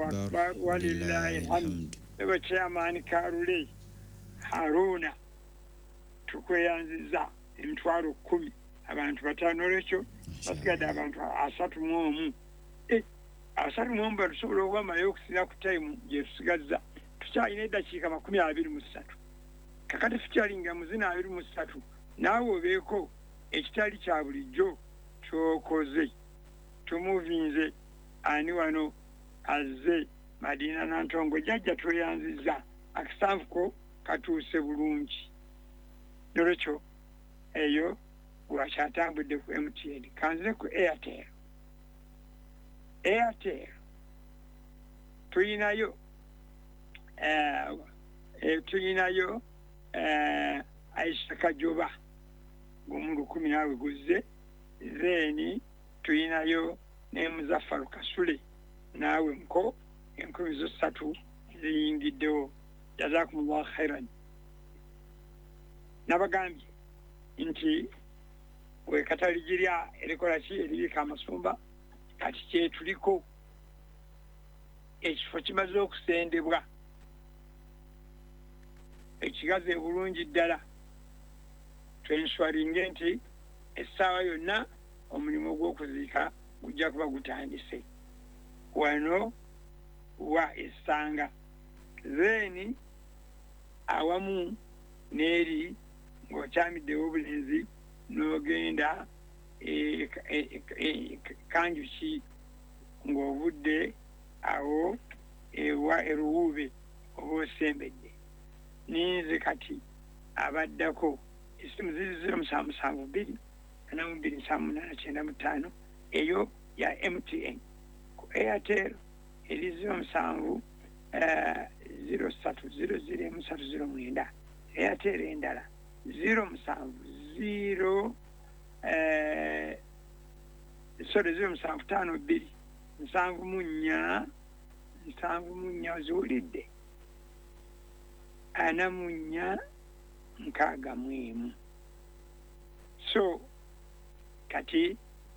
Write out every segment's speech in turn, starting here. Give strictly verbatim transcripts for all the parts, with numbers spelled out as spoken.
Akbar walillahi alhamd. Ebe chairman Karule Haruna tukweyanziza emitwalo kkumi abantu bataano olwekyo basigadde abantu asatu mu omu. Eh, asatu mu omu batusobola okubamalayo okusinza ku time gye tusigazza. Tukyalina eddakiika makumi abiri mu ssatu. Kakati tukyalinga mu zino abiri mu ssatu naawe obeeko ekitali kya bulijjo kyokoze. Tumuvinze ani wano azze Madina Nantongo jjajja tweyanzizza akasanvu ko katuuse bulungi. Nolwekyo eyo gwakyatambudde ku M T N. Kanzire ku Airtel. Airtel tuyinayo eh, eh, tuyinayo eh, Aisha Kajoba gumu lukumi naawe guzze. Then tuyinayo ne Muzaffaru Kasule naawe muko enkumi zo ssatu ziyingiddewo. Jazakumullahu khairan. Nabagambye nti wekataligirya erikola ki eribika amasumba kati kyetuliko ekifo kimaze okusendebwa ekigaze bulungi ddala. Twenswaringe nti essaawa yonna omulimu gw'okuziika gujja kuba gutandise wano wa essanga. Then awamu n'eri ng'okyamiddewo obulenzi n'ogenda e, e, e, Kanjuki ng'ovudde awo ewa eruwuube oba osembedde. Ninze kati abaddako essimu ziri ziro musanvu musanvu bbiri ana mu bbiri nsanvu munaana kyenda mu ttaano eyo ya M T N. Ku Airtel eri ziro musanvu ziro ssatu ziro ziro emu ssatu ziro mwenda. Airtel endala ziro musanvu ziro eh, sorry ziro musanvu ttaano bbiri nsanvu mu nnya nsanvu mu nnya oziwulidde ana mu nnya nkaaga mu emu. So kati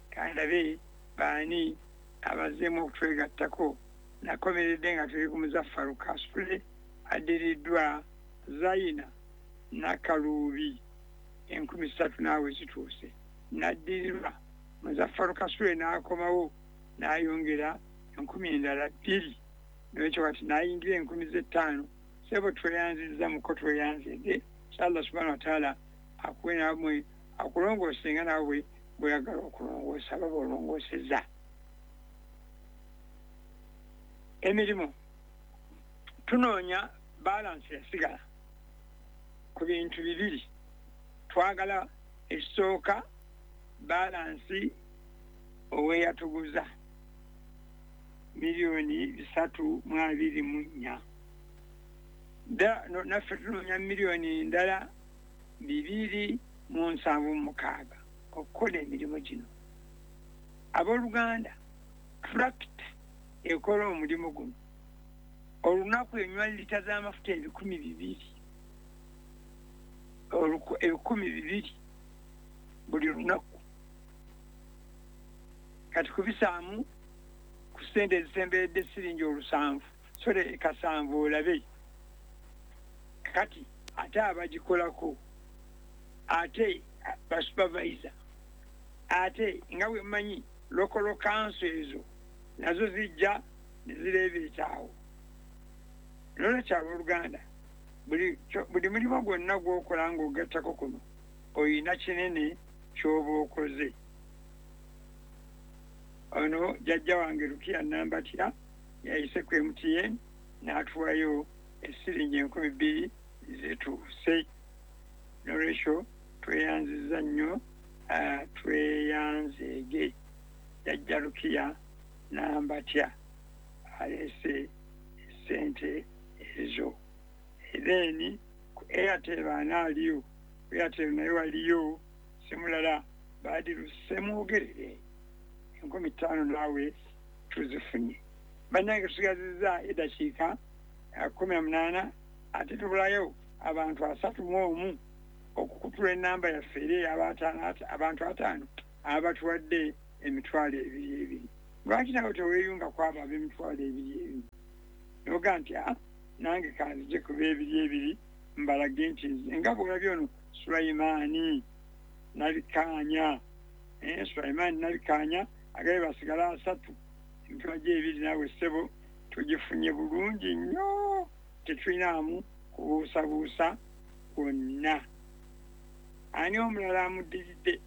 kandabe baani abazzeemu okutwegattako. Nakomeredde nga tuli ku Muzaffaru Kasule addiriddwa Zaina Nakaluubi enkumi ssatu naawe zituuse. Naddirirwa Muzaffaru Kasule n'akomawo n'ayongera enkumi endala bbiri n'ekyo kati n'ayingira enkumi z'ettaano. Ssebo tweyanzizza muko tweyanzidde. Allah subhanahu wa ta'ala akuwe namwe akulongoose nga naawe bw'oyagala okulongoosa baba olongoosezza. Emirimu tunoonya balansi yasigala ku bintu bibiri. Twagala ekisooka balansi oweyatuguza miliyoni bisatu mu abiri mu nnya. Naffe tunoonya miliyoni ndala bibiri mu nsanvu mu mukaaga okukola emirimu gino. Abooluganda, tractor ekola omulimu guno olunaku enywa lita z'amafuta ebikumi bibiri ebikumi bibiri buli lunaku. Kati kubisaamu ku ssente ezisemberedde siringi olusanvu sole kasanvu olabe. Kati ate abagikolako ate basupervisor ate nga bwe mmanyi local council ezo nazo zijja ne zireebeetaawo. Nolwekyo abooluganda buli buli mulimu gwonna gw'okola ng'ogattako kuno oyina kinene ky'oba okoze. Ono jjajja wange Rukia Nambatya yayise ku M T N n'atuwayo esiringi enkumi bbiri zituuse. Nolwekyo tweyanzizza nnyo tweyanzeege jjajja Rukia Nambatya aleese essente ezo. Then ku Airtel baana aliyo, ku Airtel naye waliyo simulala Badiru Ssemwogerere enkumi ttaano naawe tuzifunye. Bannange tusigazizza eddakiika kkumi na munaana ate tubulayo abantu asatu mu omu okukutula ennamba yaffe eri abantu ataano abatuwadde emitwalo ebiri ebiri. Lwaki nawe teweeyunga ku abo ab'emitwalo ebiri ebiri? Noga nti a nange kanzije kuba ebiri ebiri mbalage nti nze nga bw'olabye ono Sulaimaani Nabikanya, eh, Sulaimaani Nabikanya agaye basigala asatu, emitwalo gy'ebiri naawe ssebo tugifunye bulungi nnyo, tetulinamu kubuusabuusa kwonna. Ani omulala amuddiridde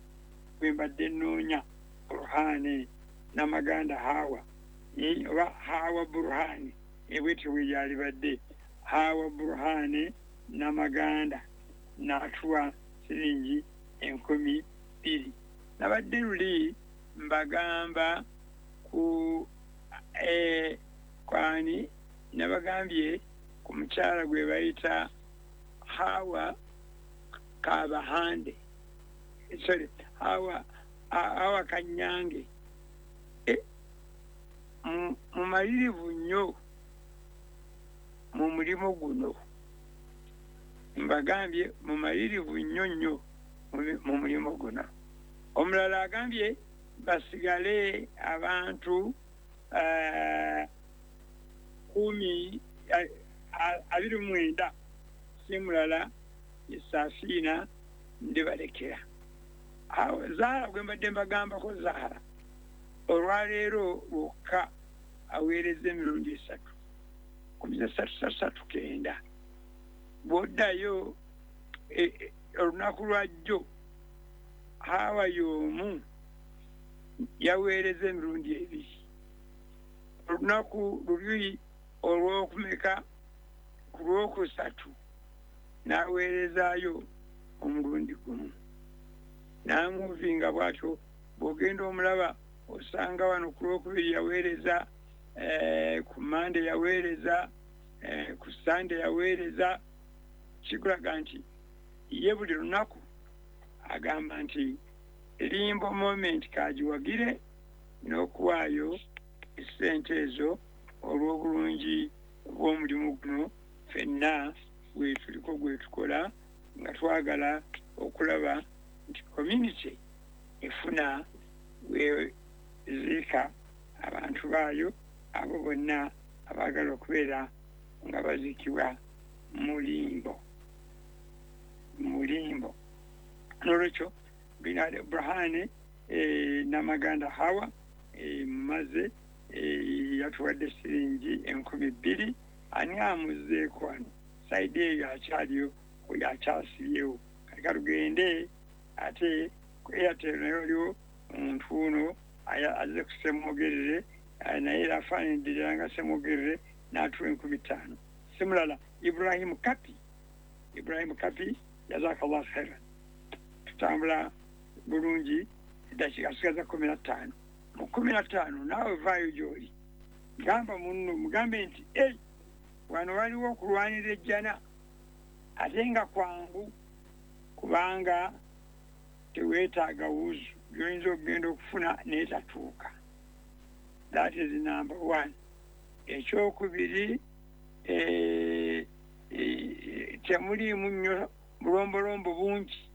gwe mbadde nnoonya? Burhane Namaganda Hawa, eh, oba Hawa Burhane, ebwetyo bwe yalibadde Hawa Burhane Namaganda n'atuwa siringi enkumi bbiri. Nabadde luli mbagamba ku eh, kwani nabagambye ku mukyala gwe bayita Hawa Kabahande, sorry, Hawa Hawa Kanyange. E, mumalirivu nnyo mu mulimu guno, mbagambye mumalirivu nnyo nnyo mu mulimu guno. Omulala agambye basigale abantu uh, kumi abiri mu mwenda, si mulala Safiina ndibalekera. Awo Zahara gwe mbadde mbagambako, Zahara olwaleero lwokka aweereza emirundi esatu, kumi na ssatu ssatu kenda. Bw'oddayo olunaku lwajjo Hawa y'omu yaweereza emirundi ebiri, olunaku luli olw'okumeka ku lwokusatu n'aweerezaayo omulundi gumu, n'amuvinga bw'atyo. Bw'ogenda omulaba osanga wano ku lwokubiri yaweereza, eh, ku Mande yaweereza, eh, ku Sande yaweereza. Kikulaga nti ye buli lunaku agamba nti Limbo Moment kagiwagire n'okuwaayo essente ezo olw'obulungi bw'omulimu guno ffenna gwe tuliko gwe tukola, nga twagala okulaba nti community efuna weziika abantu baayo abo bonna abaagala okubeera nga baziikibwa mu limbo, mu limbo. N'olwekyo Binade Burhane eh, Namaganda Hawa eh, maze eh, yatuwadde siringi enkumi bbiri. Ani amuzeeko wano saidi eyo akyaliyo, oyo akyasibyewo. Kati katugende ate ku Airtel, naye waliwo omuntu ono azze ku Ssemwogerere, naye era afaananidde ddala nga Ssemwogerere, n'atuwa enkumi ttaano. Si mulala Ibrahim Kapi, Ibrahim Kapi, jazakallah khairan. Tutambula bulungi, eddakiika sigaza kumi na ttaano. Mu kumi na ttaano naawe vaayo gy'oli, gamba munno, mugambe nti ei, wano waliwo okulwanira ejjana, ate nga kwangu kubanga teweetaaga wuzu gy'oyinza okugenda okufuna n'etatuuka. That is number one. Ekyokubiri, eh, eh, temuliimu nnyo bulombolombo bungi,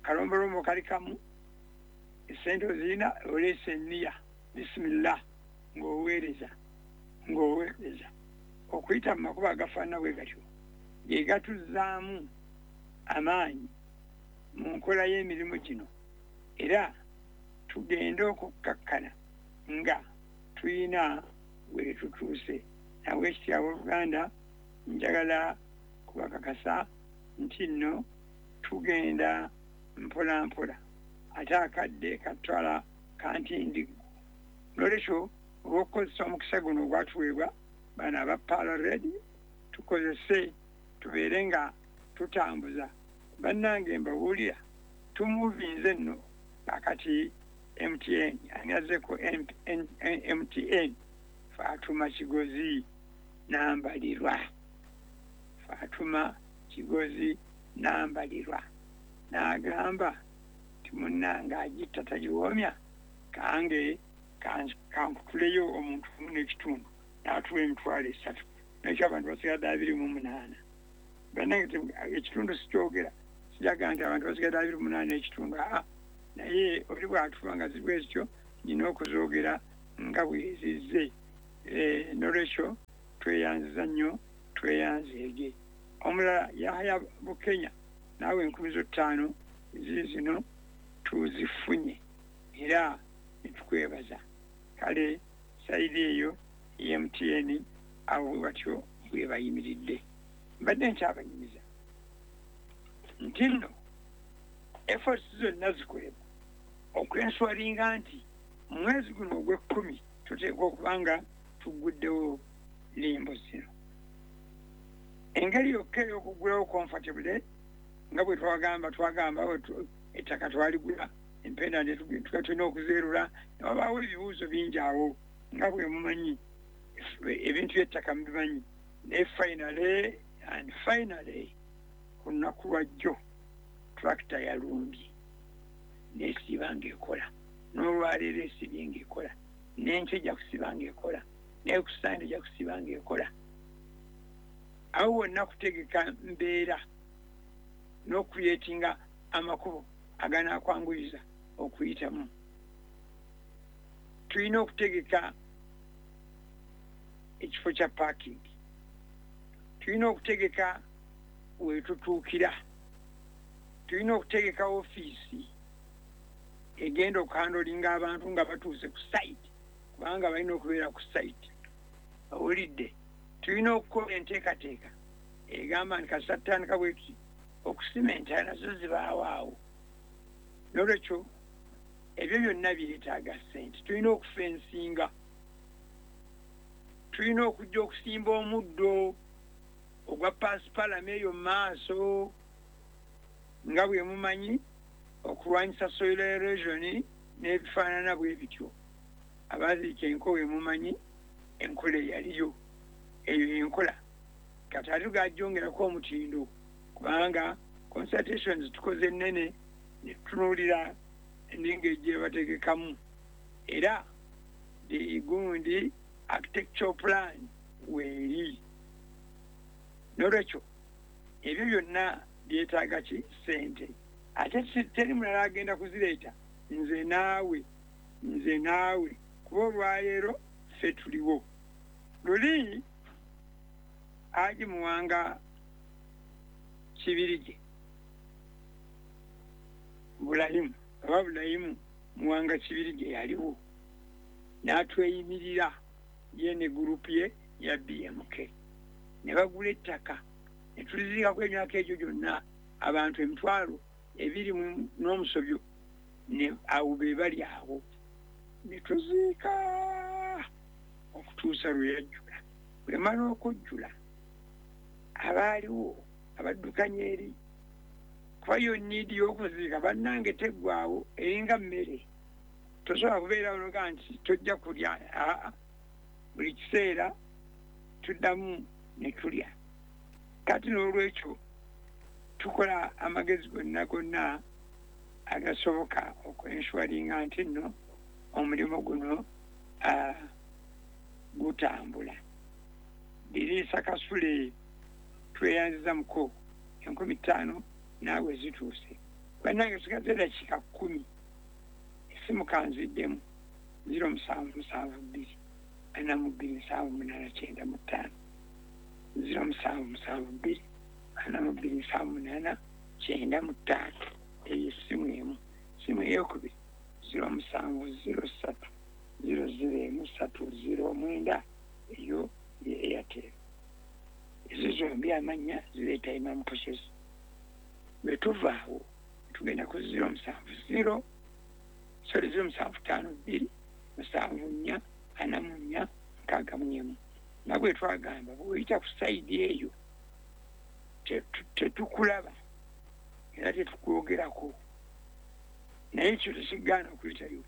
kalombolombo kali kamu, essente ozirina, oleese enniya, bisimillah, ng'oweereza ng'oweereza okuyita mu makubo agafaanana bwe gatyo ge gatuzzaamu amaanyi mu nkola y'emirimu gino, era tugende okukkakkana nga tuyina we tutuuse. Nawe ekitya abooluganda, njagala kubakakasa nti nno tugenda mpola mpola, ate akadde katwala kantindiggu. N'olwekyo olw'okukozesa omukisa guno ogwatuweebwa bano aba Pearl Radio, tukozese tubeere nga tutambuza. Bannange mbabuulira, tumuvinze nno akati M T N, ani azzeeko M T N? Fatuma Kigozi Nambalirwa, Fatuma Kigozi Nambalirwa n'agamba nti munnange agitta tagiwoomya, kange kankutuleyo omuntu omu n'ekitundu, n'atuwa emitwalo esatu. Nekyo abantu basigadde abiri mu munaana. Bannange ekitundu sikyogera, sijaga nti abantu basigadde abiri mu munaana n'ekitundu, aa, naye oli bw'atuwa nga ziri bwe zityo nina okuzoogera nga bwe zizze. N'olwekyo Tweyanziza nnyo, tweyanzeege. Omulala Yahaya Bukenya, naawe enkumi zo ttaano ziizino tuzifunye era netukwebaza. Kale sayidi eyo M T N awo batyo bwe bayimiridde. Mbadde nkyabanyumiza nti nno efforts zonna zikolebwa okwenswalinga nti mu mwezi guno ogw'ekkumi tuteekwa okuba nga tugguddewo limbo zino. Engeri yokka ey'okuggulawo comfortably nga bwe twagamba twagamba ettaka twaligula, empenda tuba tulina okuzeerula, ne wabaawo ebibuuzo bingi awo nga bwe mumanyi ebintu by'ettaka mubimanyi. Naye finally and finally ku lunaku lwa jjo tractor yalumbye n'esiiba ng'ekola, n'olwaleero esiibye ng'ekola, n'enkya ejja kusiiba ng'ekola, naye ku Sande ejja kusiiba ng'ekola. Awo wonna kutegeka mbeera n'okuyeetinga amakubo aganakwanguyiza okuyitamu. Tulina okutegeka ekifo kya parking, tulina okutegeka wetutuukira, tulina okutegeka ofiisi egenda okuhandolinga abantu nga batuuse ku site, kubanga balina okubeera ku site. Owulidde? Tulina okukola enteekateeka egamba nti kasita tutandika bwe tuti okusima entaana nazo zibaawo awo. N'olwekyo ebyo byonna byetaaga ssente. Tulina okufensinga, tulina okujja okusimba omuddo ogwa paasipalama eyo mu maaso nga bwe mumanyi okulwanyisa soil erosion n'ebifaanana bwe bityo. Abaziika enko bwe mumanyi enkola eyaliyo, eyo enkola kati ate tugajjongerako omutindo, kubanga consultations tukoze nnene ne tutunuulira n'engeri gye bategekamu, era gundi architectural plan weeri. N'olwekyo ebyo byonna byetaaga ki? Ssente. Ate teri mulala agenda kuzireeta, nze naawe, nze naawe, kuba olwaleero ffe tuliwo. Luli Haji Muwanga Kibirige Bulayimu, oba Bulayimu Muwanga Kibirige yaliwo n'atweyimirira ye ne gurupu ye ya B M K, ne bagula ettaka ne tuliziikako emyaka egyo gyonna abantu emitwalo ebiri n'omusobyo ne awo be bali awo, ne tuziika okutuusa lwe yajjula. Bwe mala okujjula abaaliwo abaddukanya eri, kuba yo niidi y'okuziika bannange teggwaawo, eringa mmere, tosobola kubeerawo noga nti tojja kulya. Aa, buli kiseera tuddamu ne tulya. Kati n'olwekyo tukola amagezi gonna gonna agasoboka okwenshuwalinga nti nno omulimu guno gutambula. Diriisa Kasule tweyanziza muko enkumi ttaano naawe zituuse. Bannange sigaze eddakiika kkumi, essimu kanziddemu ziro musanvu musanvu bbiri ana mu bbiri nsanvu munaana kyenda mu ttaano, ziro musanvu musanvu bbiri ana mu bbiri nsanvu munaana kyenda mu ttaano. Eyo essimu emu. Essimu eyokubiri ziro musanvu ziro ssatu ziro ziro emu ssatu ziro mwenda, eyo ye Airtel. Ezo zombi amannya zireeta Imam Process. Bwe tuva awo tugenda ku ziro musanvu ziro sorry ziro musanvu ttaano bbiri musanvu nnya ana mu nnya nkaaga mu emu. Nga bwe twagamba bw'oyita ku sayidi eyo tetukulaba era tetukwogerako, naye ekyo tekigaana okuyitayo.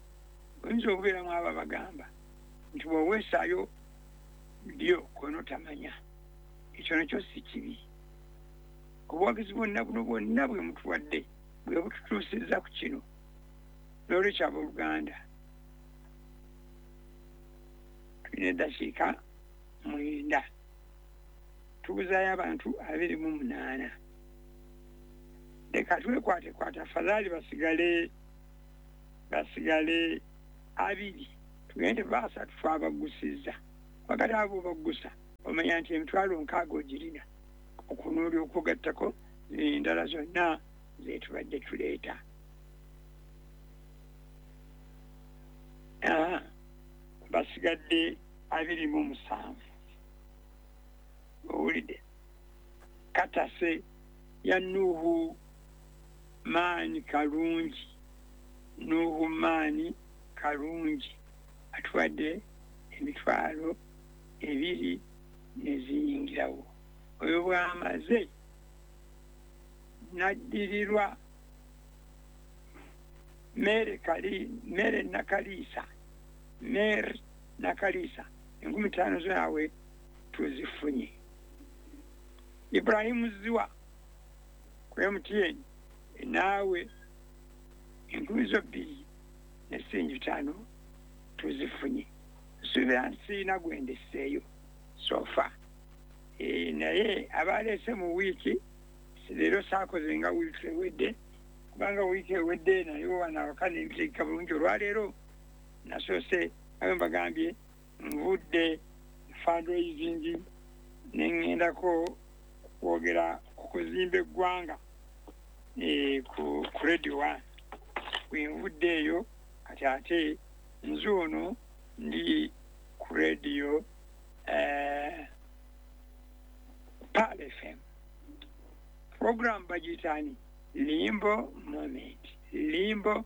Oyinza okubeeramu abo abagamba nti bw'oweesaayo ddyo kono tamanya, ekyo nakyo si kibi. Obuwagizi bwonna buno bwonna bwe mutuwadde bwe bututuusizza ku kino. N'olwekyo abooluganda, tulina eddakiika mwenda, tubuzaayo abantu abiri mu munaana. Leka twekwatekwate, afadhaali basigale basigale abiri, tugende basatu twabagusizza. Wakati abo baggusa Omanya nti emitwalo nkaaga ogirina okunuuli okugattako endala zonna zetubadde tuleeta. Basigadde abiri mu musanvu. Owulidde katase ya Nuhu Maanyi Kalungi. Nuhu Maanyi Kalungi atuwadde emitwalo ebiri neziyingirawo. Oyo bw'amaze n'addirirwa Mere Kali, Mere Nakaliisa, Mere Nakaliisa enkumi ttaano zaawe tuzifunye. Ibrahimu Ziwa ku M T N naawe enkumi zo bbiri ne siringi bitaano tuzifunye. Nsuubira nti sirina gwe ndesseeyo sofa. E, naye abaleese mu wiiki leero saakoze nga wiiki ewedde, kubanga wiiki ewedde nayo wano awaka nembitegeka bulungi. Olwaleero nasoose abe mbagambye nvudde fundraising ne ŋŋendako kwogera ku kuzimba eggwanga e, ku, ku Radio One. Bwe nvudde eyo kati ate nze ono ndi ku radio eh, Pearl F M. Program bagiyita Limbo Moment. Limbo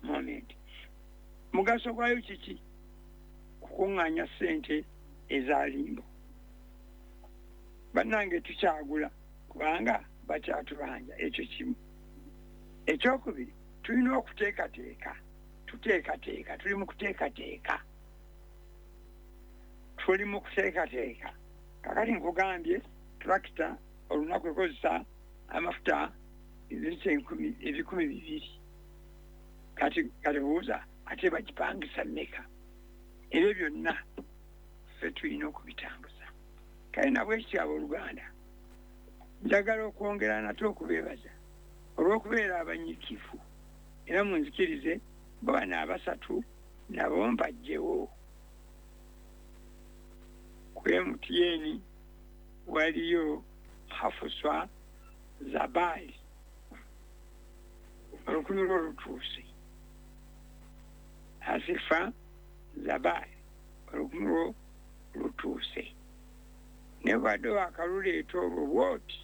Moment. Mugaso gwayo kiki? Kukuŋŋaanya ssente eza limbo. Bannange tukyagula kubanga bakyatubanja, ekyo kimu. Ekyokubiri, tulina okuteekateeka. Tuteekateeka, tuli mu kuteekateeka. Tuli mu kuteekateeka. Kakati nkugambye tractor olunaku ekozesa amafuta ebirita enkumi ebikumi bibiri. Kati kati buuza ate bagipangisa mmeka? Ebyo byonna ffe tulina okubitambuza. Kale nabwekityo abooluganda, njagala okwongera nate okubeebaza olw'okubeera abanyiikivu, era munzikirize bo bano abasatu nabo mbajjewo. Ku M T N waliyo Hafuswa Zabali olukumi lwo lutuuse. Hasifa Zabali olukumi lwo lutuuse. Ne bwadde wakaluleeta olwo bw'oti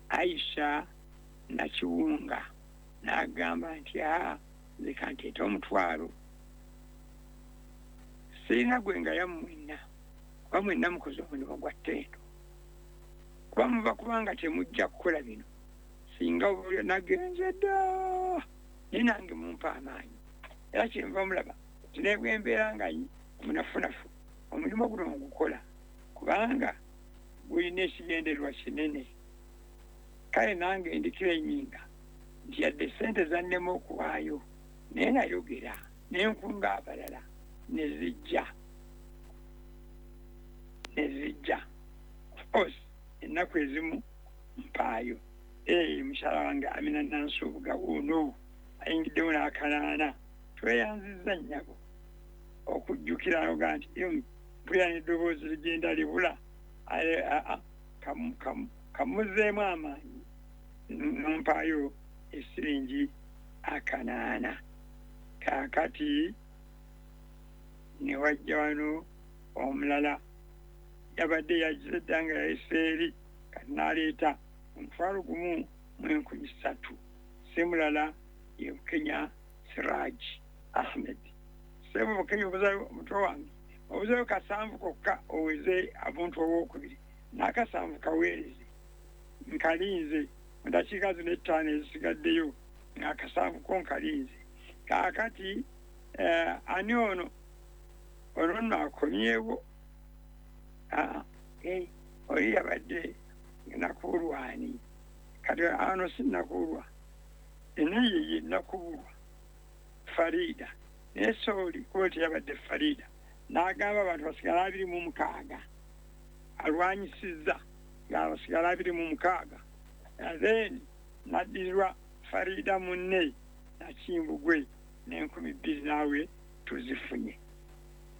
Aisha Nakiwunga n'agamba nti aa nze kanteete omutwalo. Sirina gwe nga yammwenna, kuba mwenna mukoze omulimu gwa ttendo. Kuba muva kubanga temujja kukola bino singa nagenze dda, naye nange mumpa amaanyi. Era kyenva mulaba nti ne bwe mbeera nga munafunafu omulimu guno ngukola kubanga gulina ekigendererwa kinene. Kale nange ndikira ennyinga nti yadde ssente zannema okuwaayo, naye nayogera ne nkunga abalala ne zijja ne zijja. Of course ennaku ezimu mpaayo. Ee, mukyala wange Amina Nansubuga wuuno ayingiddewo n'akanaana. Tweyanzizza nnyabo okujjukira oga nti mpulira n'eddoboozi ligenda libula, kamuzeemu amaanyi nompaayo esiringi akanaana. Kaakati ne wajja wano omulala yabadde yagize dda nga yayise eri, kati n'aleeta omutwalo gumu mu enkumi ssatu. Si mulala ye Bukenya Siraj Ahmed. Ssebo Bukenya obuzayo omutwe wange obuzayo kasanvu kokka oweze abantu owookubiri n'akasanvu kaweereze. Nkalinze mu dakiika zino ettaano ezisigaddeyo ng'akasanvu ko nkalinze. Kaakati eh, ani ono? Ono nno akomyewo. Ah, eh, oli yabadde Nakuulwani. Kati ano si Nakuulwa, naye ye Nakuulwa Farida. Naye sooli kuba teyabadde Farida n'agamba abantu basigala abiri mu mukaaga, alwanyisizza nga basigala abiri mu mukaaga. Then n'addirirwa Farida munne Nakimbugwe n'enkumi bbiri naawe tuzifunye.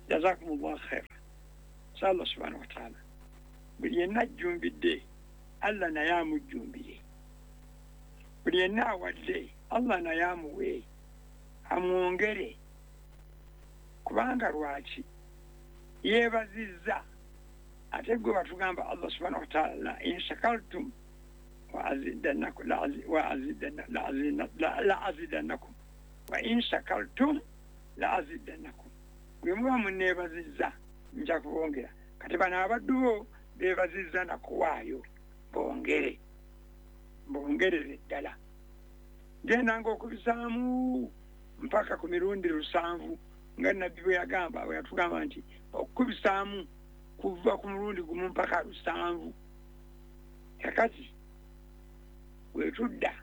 Jazakumullahu khaira. Allah subhanahu wa ta'ala buli yenna ajjumbidde Allah naye amujjumbire, buli yenna awadde Allah naye amuwe amwongere. Kubanga lwaki yeebazizza? Ate gwe batugamba Allah subhanahu wa ta'ala, in shakartum wa azidannakum la azidannakum wa in shakartum la azidannakum, bwe muba munneebazizza nja kubongera. Kati bano abaddu bo beebazizza nakuwaayo, bongere bongerere ddala. Genda ng'okubisaamu mpaka ku mirundi lusanvu, nga nabbi bwe yagamba, bwe yatugamba nti okukubisaamu kuva ku mulundi gumu mpaka lusanvu. Kakati bwe tudda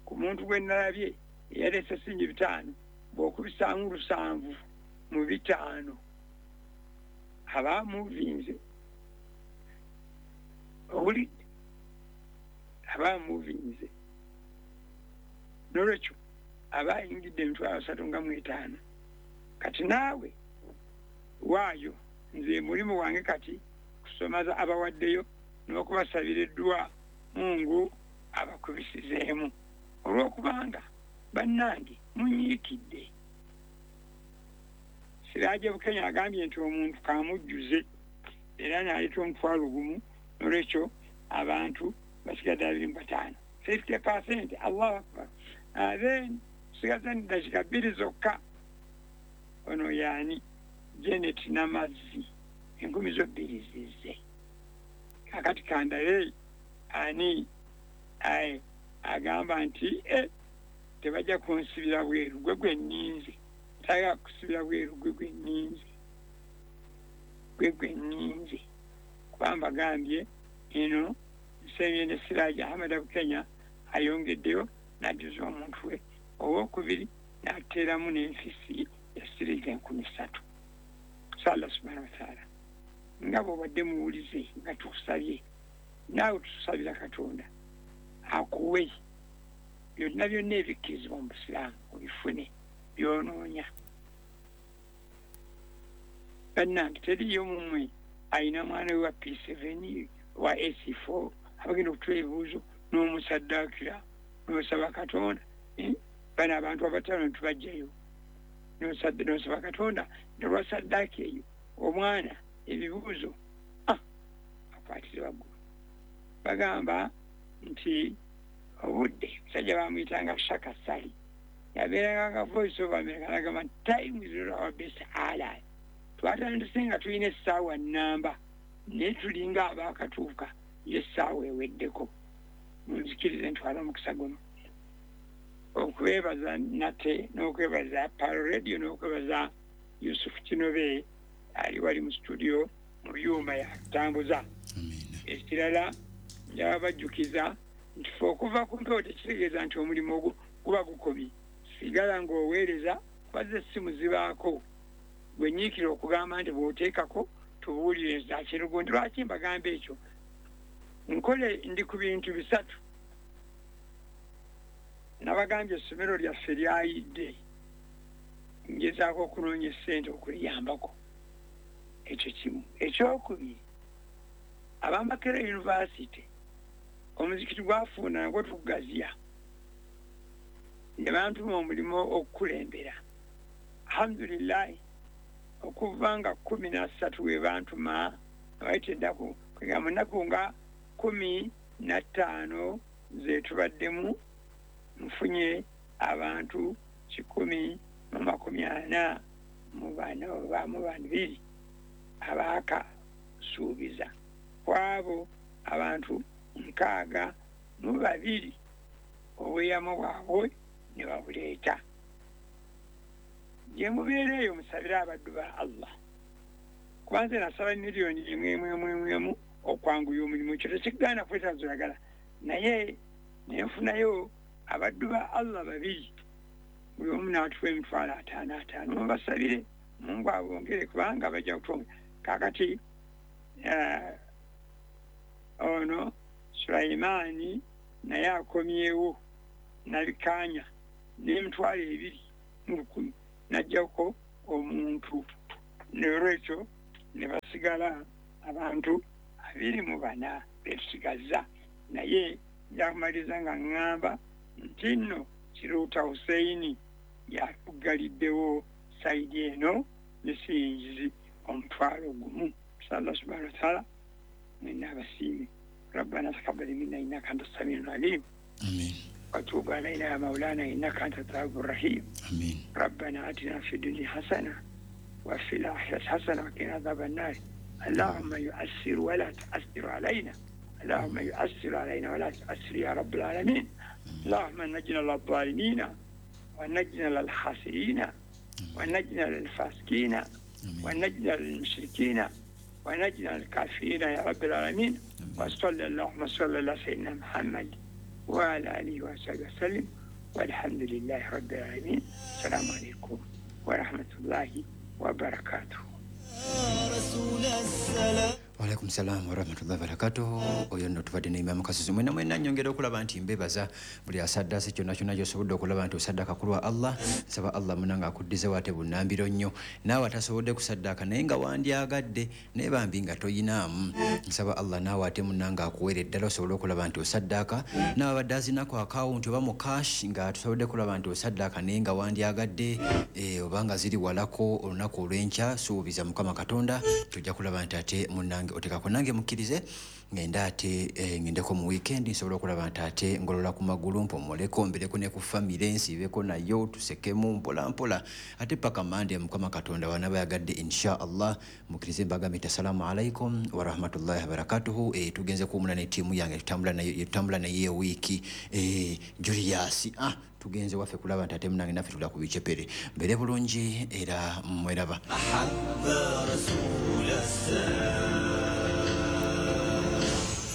ku muntu gwe nalabye eyaleese singi bitaano, bw'okubisaamu lusanvu mu bitaano aba amuvinze. Owulidde? Aba amuvinze. Nolwekyo aba ayingidde emitwalo asatu nga mu etaano. Kati naawe waayo, nze mulimu wange kati kusomaza abawaddeyo n'okubasabira eddwa Mungu abakubisizeemu, olw'okubanga bannange munyiikidde. Siraje Bukenya agambye nti omuntu kamujjuze era n'aleeta omutwalo gumu. Nolwekyo abantu basigadde abiri mu bataano, fifty percent. Allahu akbar. Then tusigaze eddakiika bbiri zokka. Ono yaani Janet Namazzi, enkumi zo bbiri zizze. Kakati kandabe ani aye agamba nti e tebajja kunsibira bweru, gwe gwe nninze, tagala kusibira bweru, gwe gwe nninze, gwe gwe nninze. Kuba mbagambye eno nsemye ne Siraje Ahmed Bukenya ayongeddeyo n'ajjuza omuntu we owokubiri n'ateeramu n'enfisi ya siringi enkumi ssatu. Allah subhanahu wa ta'ala, nga bw'obadde muwulize nga tukusabye, naawe tutusabira Katonda akuwe byonna byonna ebikkirizibwa mu Busiraamu obifune by'onoonya. Bannange teriiyo mummwe ayina mwana we wa P seven wa A C four abagenda okutula ebibuuzo n'omusaddaakira n'osaba Katonda. Bano abantu abataano ntubajjayo n'osaba Katonda nolwa saddaaka eyo omwana ebibuuzo akwatire waggulu. Bagamba nti obudde musajja bamuyitanga Shaka Sali, yabeeranga nga Voice of America, nagamba time is not our best ally. Twatandise nga tulina essaawa nnamba, naye tulinga abaakatuuka y'essaawa eweddeko. Munzikirize ntwale omukisa guno okwebaza nate n'okwebaza Pearl Radio n'okwebaza Yusuf Kinobe ali wali mu studio mu byuma yatambuza. Ekirala njaba bajjukiza nti ffe okuva ku mpewo tekitegeeza nti omulimu ogwo guba gukomye. Sigala ng'oweereza, kubaza essimu zibaako. Gwe nyiikira okugamba nti bw'oteekako tubuulire zakirugundi. Lwaki mbagamba ekyo? Nkole ndi ku bintu bisatu. Nabagambye essomero lyaffe lyayidde, ngezaako okunoonya essente okuliyambako. Ekyo kimu. Ekyokubiri, ab'Amakerere University omuzikiti gwafuuna nagwo tugugaziya, ne bantuma omulimu okukulembera. Alhamdulillahi, okuva nga kkumi na ssatu we bantuma, abayita ennaku mu nnaku nga kkumi na ttaano ze tubaddemu, nfunye abantu kikumi mu makumi ana mu bana oba mu babiri abaakasuubiza. Kwabo abantu nkaaga mu babiri obweyamo bwabwe ne babuleeta. Gye mubeera eyo musabire abaddu ba Allah, kuba nze nasaba miliyoni emu emu emu emu emu okwanguya omulimu. Ekyo tekigaana kwetaaza oyagala, naye ne nfunayo abaddu ba Allah babiri, buli omu n'atuwa emitwalo ataano ataano. Mubasabire Mungu abongere, kubanga bajja kutwongera. Kaakati ono Sulaimaani naye akomyewo nabikaanya n'emitwalo ebiri mu lukumi n'aggyako omuntu. N'olwekyo ne basigala abantu abiri mu bana betusigazza. Naye njakumaliriza nga ŋŋamba nti nno Kiruuta Hussein yatuggaliddewo sayidi eno ne siyingizi omutwalo gumu. Allah subhanahu wa ta'ala mwenna abasiime. Rabbana taqabbal minna innaka anta as-sami'ul alim. Amin. Wa tub alayna ya maulana innaka anta at-tawwabur rahim. Amin. Rabbana atina fid dunya hasana wa fil akhirati hasana wa qina adhaban nar. Allahumma yu'assir wa la tu'assir alayna. Allahumma yu'assir alayna wa la tu'assir ya rabbil alamin. Allahumma najina lil-zalimina wa najina lil-khasirina wa najina lil-fasiqina wa najina lil-mushrikina wa najina lil-kafirina ya rabbil alamin. Wa sallallahu wa sallam ala sayyidina Muhammad wa ala alihi wa sahbihi wa sallam. Walhamdulillahi rabbil alamin. Assalamu alaykum wa rahmatullahi wa barakatuh. Waalaikum salam wa rahmatullahi wa barakatuh. Oyo nno tubadde ne Imam Kasisi. Mwenna mwenna nnyongera okulaba nti mbebaza buli asaddaase kyonna kyonna gy'osobodde okulaba nti osaddaaka ku lwa Allah. Nsaba Allah munange akuddizewo ate bunnambiro nnyo. Naawe atasobodde kusaddaaka naye nga wandyagadde naye bambi nga toyinaamu. Nsaba Allah naawe ate munnange akuweere ddala osobole okulaba nti osaddaaka. Naawe abadde azinako akawunti oba mu cash nga tusobodde kulaba nti osaddaaka naye nga wandyagadde eh, oba nga ziri walako olunaku olw'enkya, suubiza Mukama Katonda tujja kulaba nti ate munnange otekako nange mukkirize ngenda ate eh, ngendeko mu weekend nsobola okulaba nti ate ngolola ku magulu mpomoleko mbireko ne ku family nsibeko nayo tusekemu mpola mpola ate paka Mande Mukama Katonda wanaba yagadde insha Allah. Mukkirize mbagambe assalamu alaikum wa rahmatullahi wa barakatuhu. Eh, tugenze kuwumula ne tiimu yange tutambula nayo tutambula naye wiiki eh, Julius ah tugenze waffe kulaba nti ate munange naffe tula ku bicepere mbere bulungi era mweraba.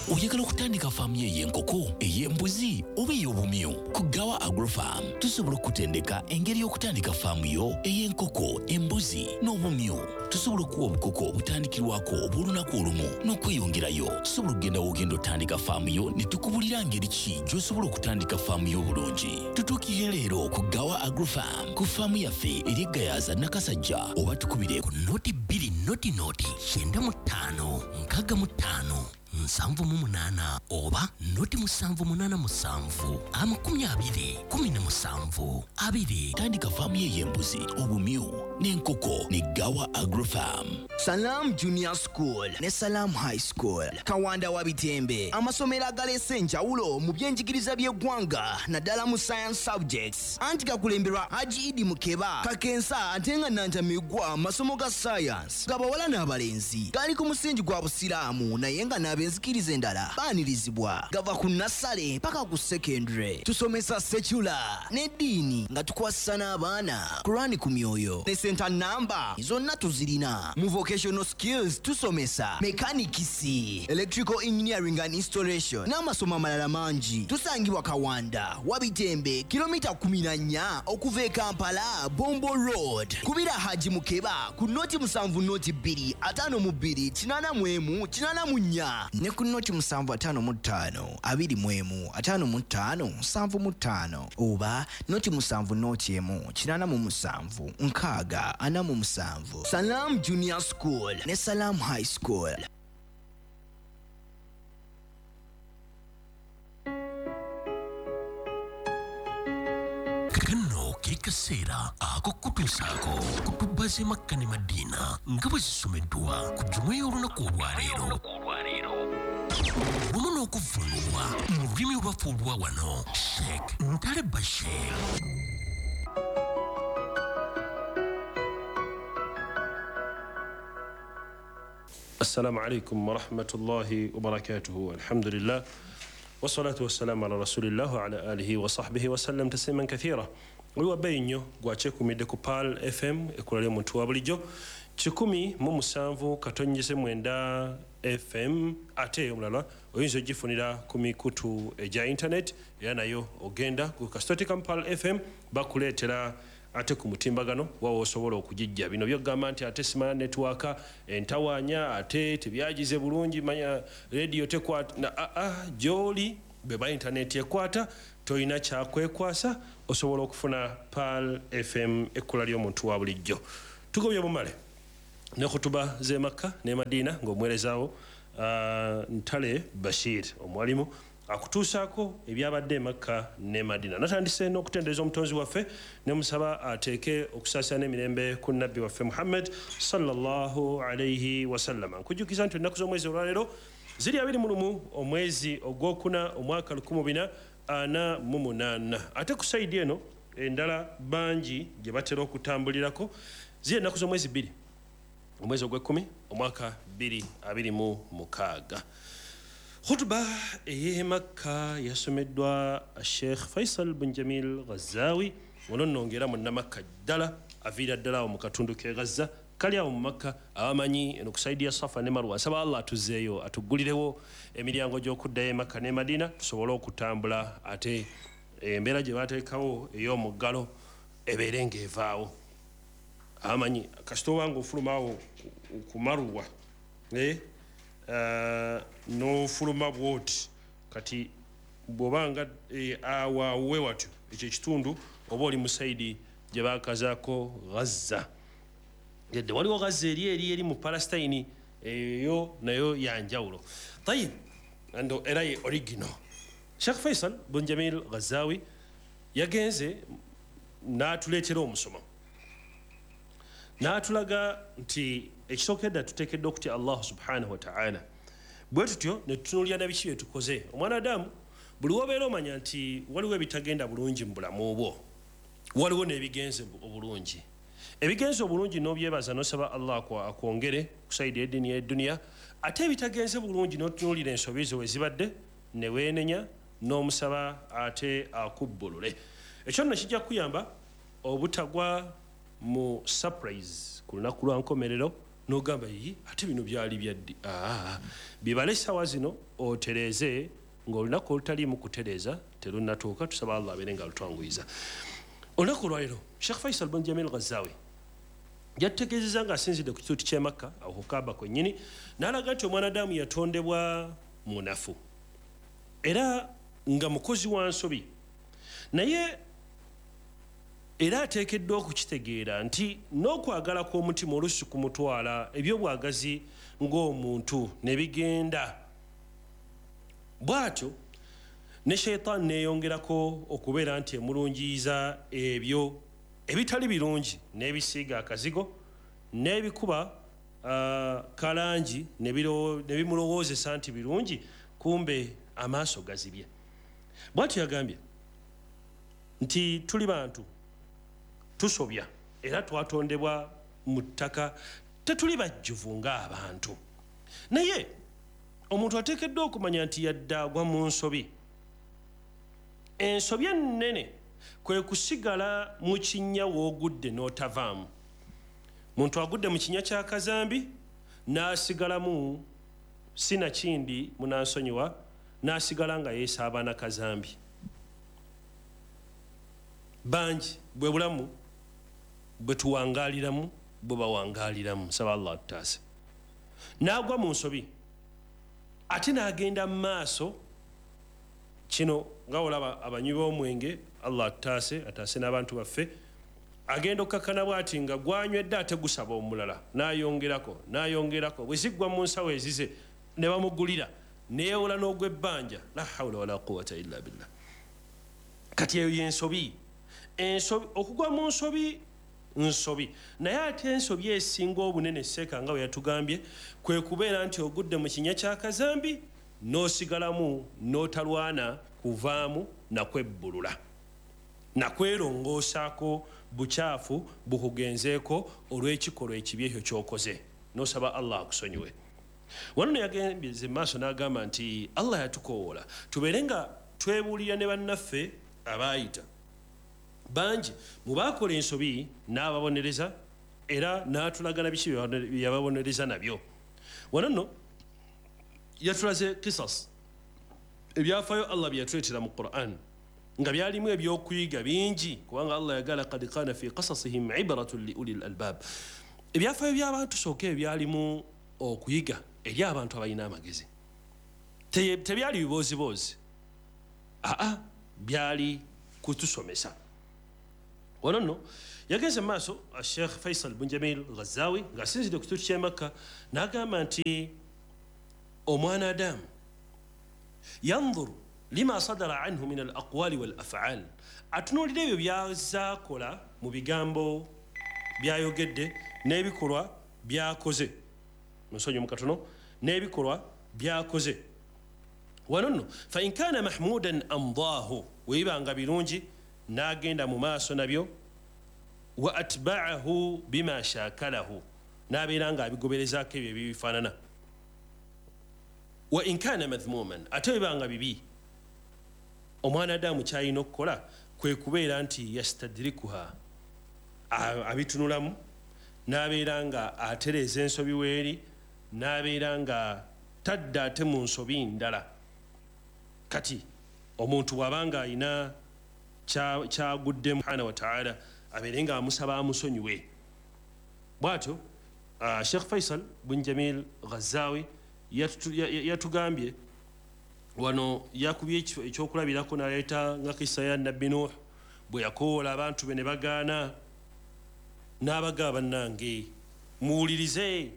Oyagala okutandika faamu yo ey'enkoko, ey'embuzi oba ey'obumyu? Ku Gawa Agrofarm tusobola okutendeka engeri y'okutandika faamu yo ey'enkoko, embuzi n'obumyu. Tusobola okuwa obukoko obutandikirwako obw'olunaku olumu n'okweyongerayo. Tusobola okugenda w'ogenda otandika faamu yo ne tukubulira ngeri ki gy'osobola okutandika faamu yo obulungi. Tutuukire leero ku Gawa Agrofarm ku faamu yaffe eri e Gayaza Nakasajja oba tukubire ku noti bbiri noti noti kyenda mu ttaano nkaaga mu ttaano nsanvu mu munaana oba noti musanvu munaana musanvu amakumi abiri kumi na musanvu abiri. Tandika faamu ye y'embuzi, obumyu n'enkoko ne Gawa Agrofarm. Salam Junior School ne Salam High School Kawanda wa Bitembe, amasomero agaleese enjawulo mu byenjigiriza by'eggwanga naddala mu science subjects. Anti gakulemberwa Haji Idi Mukeba Kakensa ate nga Nantamigwa amasomo ga science gabawala n'abalenzi gali ku musingi gwa Busiraamu naye nga n'abenzikiriza endala baanirizibwa. Gava ku nasale paka ku secondary. Tusomesa secular n'eddiini nga tukwasisa n'abaana Kurani ku myoyo ne center number zonna tuzirina. Mu vocational skills tusomesa mechanics, electrical engineering and installation n'amasomo amalala mangi. Tusangibwa Kawanda Wabitembe kilomita kumi na nnya okuva e Kampala Bombo Road. Kubira Haji Mukeba ku noti musanvu noti bbiri ataano mu bbiri kinaana mu emu kinaana mu nnya ne ku noti musanvu ataano mu ttaano abiri mu emu ataano mu ttaano nsanvu mu ttaano oba noti musanvu noti emu kinaana mu musanvu nkaaga ana mu musanvu. Salam Junior School ne Salam High School. Kano ke kaseera ak'okutuusaako ku tubbaze Makka ne Madiina nga bwe zisomeddwa ku jjuma y'olunaku olwaleero wamu n'okuvvuunulwa mu lulimi olwaffe olwa wano. Sheikh Ntale Bashir. السلام عليكم ورحمة الله وبركاته. الحمد لله والصلاة والسلام على رسول الله وعلى آله وصحبه وسلم تسليما كثيرا. Oli nnyo gwakyekuumidde ku Pearl F M ekkula ly'omuntu wa bulijjo kikumi mu musanvu katonnyeze mwenda F M, ate omulala oyinza ogifunira ku mikutu egya internet era nayo ogenda ku kasitotika Pearl F M bakuleetera ate ku mutimbagano wawo osobola okugijja. Bino byogamba nti ate simanya network entawaanya ate tebyagize bulungi manya radio tekwata na a a gy'oli beba internet ekwata toyina kyakwekwasa osobola okufuna Pearl F M ekkula ly'omuntu wa bulijjo. Tugobye bumale Ne khutuba z'e Makka ne Madina ng'omuweerezaawo uh, Ntale Bashir omwalimu akutuusaako ebyabadde e Makka ne Madina. Natandise n'okutendereza omutonzi waffe ne musaba ateeke okusaasira n'emirembe ku nabbi waffe Muhammad sallallahu alayhi wasallam. Nkujjukiza nti ennaku z'omwezi olwaleero ziri abiri mu lumu omwezi ogwokuna omwaka lukumi bina ana mu munaana. Ate ku sayidi eno endala bangi gye batera okutambulirako ziri ennaku z'omwezi bbiri omwezi ogw'ekkumi omwaka bbiri abiri mu mukaaga. Khutuba ey'e Makka yasomeddwa Sheikh Faisal bin Jamil Ghazawi, ono nno ng'era munnamakka ddala, aviira ddala awo mu katundu k'e Gaza, kali awo mu Makka, abamanyi eno ku sayidi ya Safa ne Marwa. Nsaba Allah atuzzeeyo atuggulirewo emiryango gy'okuddayo e Makka ne Madina tusobole okutambula, ate embeera gye bateekawo ey'omuggalo ebeere ng'evaawo. Abamanyi kasita oba ng'ofuluma awo ku Marwa eh, Uh, n'ofuluma bw'oti kati bw'obanga eh, awo awo watyo ekyo ekitundu oba oli mu sayidi gye baakazaako Gaza. Yadde waliwo Gaza eri eri eri mu Palestine, eyo nayo ya njawulo. Tayib, ando era ye original. Sheikh Faisal bin Jamil Ghazawi yagenze n'atuleetera omusomo n'atulaga nti ekisookedda tuteekeddwa okutya Allah subhanahu wa ta'ala. Bwe tutyo ne tutunuulira na biki bye tukoze. Omwana Adamu buli w'obeera omanya nti waliwo ebitagenda bulungi mu bulamu bwo, waliwo n'ebigenze obulungi. Ebigenze obulungi n'obyebaza n'osaba Allah akwongere ku sayidi y'eddiini y'edduniya, ate ebitagenze bulungi n'otunuulira ensobi zo we zibadde ne weenenya n'omusaba ate akubbulule. Ekyo nno kijja kukuyamba obutagwa mu surprise ku lunaku lwa nkomerero n'ogamba yi ate bino byali byaddi. Ah, bibale essaawa zino otereeze ng'olunaku olutaliimu kutereeza terunnatuuka. Tusaba Allah abeere nga alutwanguyiza. Olunaku olwaleero Sheikh Faisal bin Jamil Ghazawi yatutegeezezza ng'asinzidde ku kituuti ky'e Makka awo ku Kaaba kwennyini, n'alaga nti omwanadamu yatondebwa munafu era nga mukozi wa nsobi, naye era ateekeddwa okukitegeera nti n'okwagala kw'omutima oluusi kumutwala ebyobwagazi ng'omuntu ne bigenda. Bw'atyo ne sheitaani neeyongerako okubeera nti emulungiyiza ebyo ebitali birungi n'ebisiiga akazigo n'ebikuba uh, kalangi ne bimulowoozesa nti birungi, kumbe amaaso gazibye. Bw'atyo yagambye nti tuli bantu tusobya era twatondebwa mu ttaka, tetuli bajjuvu ng'abantu. Naye omuntu ateekeddwa okumanya nti yadde agwa mu nsobi. Ensobi ennene kwe kusigala mu kinnya w'ogudde n'otavaamu. Muntu agudde mu kinnya kya kazambi n'asigalamu, sinakindi munansonyiwa, n'asigala nga yeesaaba na kazambi. Bangi bwe bulamu bwe tuwangaaliramu bwe bawangaaliramu, nsaba Allah atutaase. N'agwa mu nsobi ate n'agenda mu maaso. Kino nga olaba abanywi b'omwenge, Allah atutaase, ataase n'abantu baffe, agenda okkakkana bw'ati nga gwanywedde ate gusaba omulala, n'ayongerako n'ayongerako, bwe ziggwa mu nsawo ezize ne bamugulira, neewola n'ogw'ebbanja. La hawula wala quwwata illa billah. Kati eyo y'ensobi. Ensobi, okugwa mu nsobi nsobi, naye ate ensobi esinga obunene seeka nga bwe yatugambye kwe kubeera nti ogudde mu kinnya kya kazambi n'osigalamu n'otalwana kuvaamu nakwebbulula nakwerongoosaako bukyafu bukugenzeeko olw'ekikolwa ekibi ekyo ky'okoze, n'osaba Allah akusonyiwe. Wano ne yagembye maaso n'agamba nti Allah yatukowoola tubeere nga twebuulira ne bannaffe abaayita. Bangi mu baakola ensobi n'ababonereza era n'atulaga na biki bye yababonereza nabyo. Wano nno yatulaze kisas ebyafaayo Allah bye yatuleetera mu Qur'an nga byalimu ebyokuyiga bingi, kubanga Allah yagala qad kana fi qasasihim ibratun li ulil albab. Ebyafaayo by'abantu sooka ebyalimu okuyiga eri abantu abalina amagezi, tebyali bibooziboozi, aa byali kutusomesa. Wano nno yagenze mu maaso Sheikh Faisal bin Jamil Ghazawi ng'asinzidde ku kituuti ky'e Makka n'agamba nti omwana Adamu yanzuru lima sadara anhu min al aqwali wal af'al, atunuulira ebyo by'azaakola mu bigambo byayogedde n'ebikolwa byakoze. Munsonyi mu katono, n'ebikolwa byakoze. Wano nno fa in kana mahmudan amdahu, weibanga birungi n'agenda mu maaso nabyo, wa atba'ahu bima shakalahu, n'abeera nga abigoberezaako ebyo ebibifaanana. Wa in kana madhmuman, ate webanga bibi, omwana Adamu kyalina okukola kwe kubeera nti yastadrikuha, abitunulamu n'abeera nga atereeza ensobi weeri, n'abeera nga tadda ate mu nsobi ndala. Kati omuntu bw'abanga alina kyaguddemu subhanahu wa ta'ala, abeere nga amusaba amusonyiwe. Bw'atyo Sheikh Faisal bin Jamil Ghazawi yatugambye wano, yakubye ekyokulabirako n'aleeta nga kisa ya Nabbi Nuh bwe yakoola abantu be ne bagaana, n'abagaba bannange muwulirize,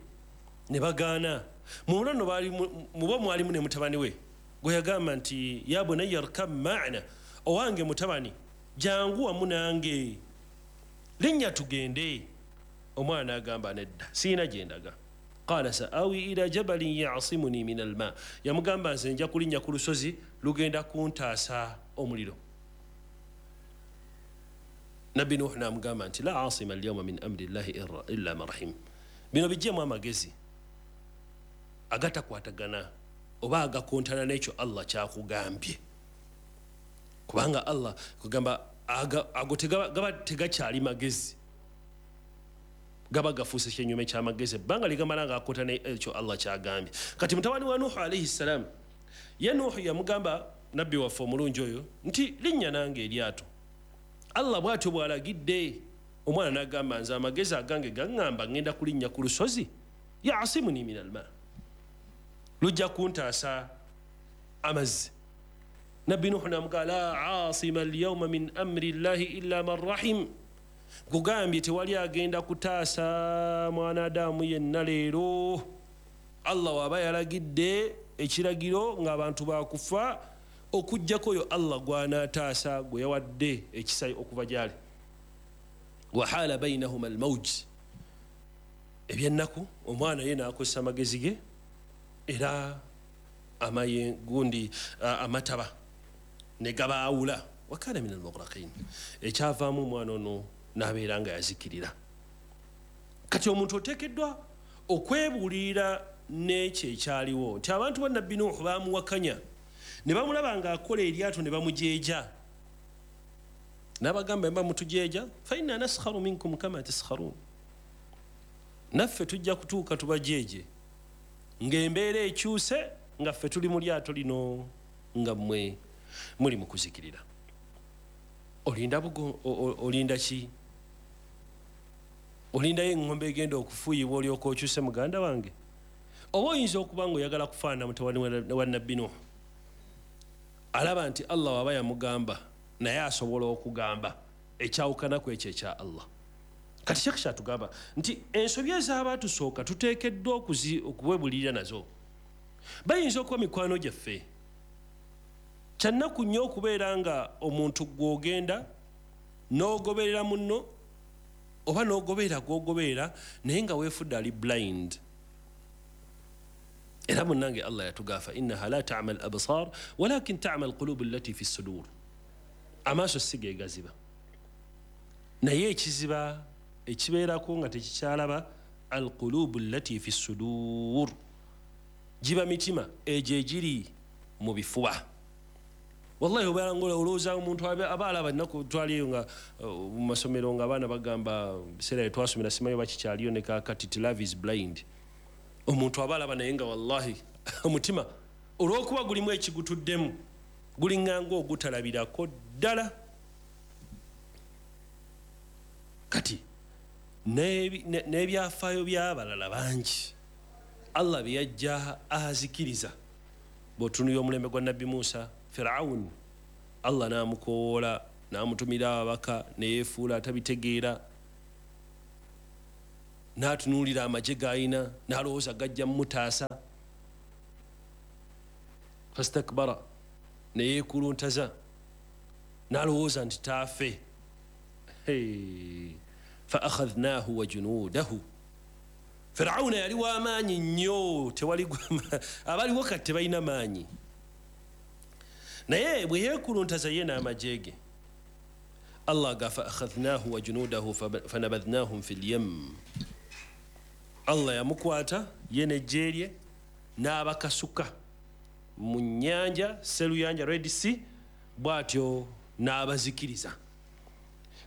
ne bagaana. Mu nno baali mubo mwalimu ne mutabani we gwe yagamba nti ya bunayya arkab ma'ana, owange mutabani jangu wamu nange, linnya tugende. Omwana agamba nedda, siina gye ndaga. Qala sa'awi ila jabalin ya'simuni min alma, yamugamba nze nja kulinnya ku lusozi lugenda kuntaasa omuliro. Nabbi Nuh n'amugamba nti la asima alyawma min amri llahi illa man rahim. Bino bijjemu amagezi agatakwatagana oba agakontana n'ekyo Allah kyakugambye, kubanga Allah kugamba ago gaba tegakyali magezi, gaba gafuuse kyenyume ky'amagezi, ebbanga ligamala ng'akontana ekyo Allah kyagambye. Kati mutabani wa Nuhu alayhi salam, ye Nuhu yamugamba nabbi waffe omulungi oyo nti linnya nange eryato, Allah bw'atyo bw'alagidde. Omwana n'agamba nze amagezi agange gaŋŋamba ŋŋenda kulinnya ku lusozi, yasimuni min alma, lujja kuntaasa amazzi. Nabbi Nuhu n'amugamba la asima alyawma min amri llahi illa man rahim, nkugambye tewali agenda kutaasa mwana Adamu yenna leero. Allah waba yalagidde ekiragiro ng'abantu bakufa, okuggyako oyo Allah gw'anaataasa gwe yawadde ekisa okuva gy'ali. Wahala bainahuma almawj, ebyennaku omwana ye n'akozesa amagezi ge era amaye gundi amataba ne gabaawula, wakana min almughraqin, ekyavaamu omwana ono n'abeera nga yazikirira. Kati omuntu oteekeddwa okwebuulirira n'ekyo ekyaliwo nti abantu ba Nabbi Nuhu baamuwakanya ne bamulaba ng'akola eryato ne bamujeeja, n'abagamba mba mutujeeja, fa inna naskharu minkum kama taskharun, naffe tujja kutuuka tubajeeje ng'embeera ekyuse nga ffe tuli mu lyato lino nga mmwe muli mu kuzikirira. Olinda bugo, olinda ki? Olindayo eŋŋombe egenda okufuuyibwa olyoka okyuse muganda wange? Oba oyinza okuba ng'oyagala kufaanana mutabani wa Nabbi Nuhu, alaba nti Allah waba yamugamba naye asobola okugamba ekyawukanaku ekyo ekya Allah. Kati Sheikh kyatugamba nti ensobi ez'abaatusooka tuteekeddwa okuwebulirira nazo. Bayinza okuba mikwano gyaffe. Kyannaku nnyo okubeera nga omuntu gw'ogenda n'ogoberera munno oba n'ogoberera gw'ogoberera naye nga weefudde ali blind. Era munnange Allah yatugamba innaha la ta'ma al-absar walakin ta'ma al-qulub allati fi as-sudur. Amaaso si ge gaziba, naye ekiziba ekibeerako nga tekikyalaba al-qulub allati fi as-sudur, giba mitima egyo egiri mu bifuba. Wallahi obeera ng'olowooza omuntu aba alaba ennaku twaliyo nga mu masomero nga abaana bagamba biseera bye twasomera simanyi oba kikyaliyo ne kaakati ti love is blind. Omuntu aba alaba naye nga wallahi omutima olw'okuba gulimu ekigutuddemu guliŋŋanga ogutalabirako ddala. Kati n'ebyafaayo by'abalala bangi Allah bye yajja azikiriza. Bw'otunuulira omulembe gwa Nabbi Musa, Firaun Allah n'amukowoola N'amutumira ababaka neyeefuula atabitegeera, n'atunuulira amagye g'alina n'alowooza gajja mumutaasa. Fastakbara, neyeekuluntaza n'alowooza nti taafe. Fa akhadhnaahu wa junuudahu. Firawuna yali w'amaanyi nnyo, tewali abaliwo kati tebalina maanyi, naye bwe yeekuluntaza ye n'amagye ge, Allah ga fa akhadhnaahu wa junuudahu fanabadhnahum fil yam. Allah yamukwata ye n'eggye lye n'abakasuka mu nnyanja Seruyanja, Red Sea, bw'atyo n'abazikiriza.